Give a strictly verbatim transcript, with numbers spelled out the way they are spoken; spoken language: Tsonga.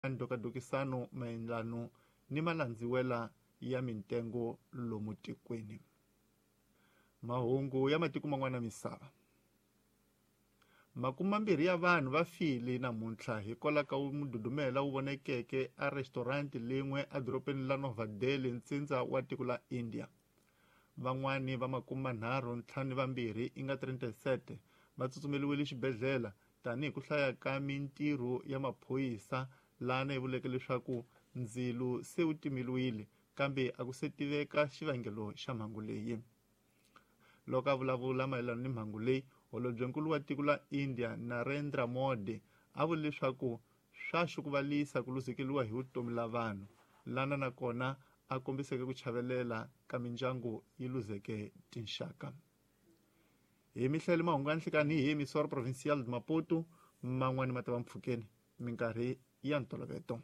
Ndhokadokisano mayelano ni malandziwela ya mintengo lomu tikweni. Mahungu ya matiko man'wana misava. Makume mambirhi ya vanhu va file namuntlha hikwalaho ka mududumela wu vonekeke a restaurant lin'we edorobeni la Nova Delhi, ntsindza wa tiko la India. Van'wani va makume manharhu ntlhanu vambirhi i nga thirty-seven va tsutsumeliwile xibedhlele tanihi ku hlaya ka mintirho ya maphorisa lana yi vuleke leswaku ndzilo se wu timeliwile kambe a ku se tiveka xivangelo xa mhangu leyi. Loko a vulavula mayelana ni mhangu leyi, holobyenkulu wa tiko la India Narendra Modi a vule leswaku swa xukuvalisa ku luzekeriwa hi vutomi la vanhu lana nakona a kombiseke ku chavelela ka mindyangu yi luzeke tinxaka. Hi mihlelo mahungu ya nhlikani hi Emissora Provincial de Maputo, man'wani ma ta va mpfhukeni minkarhi ya ntoloveto.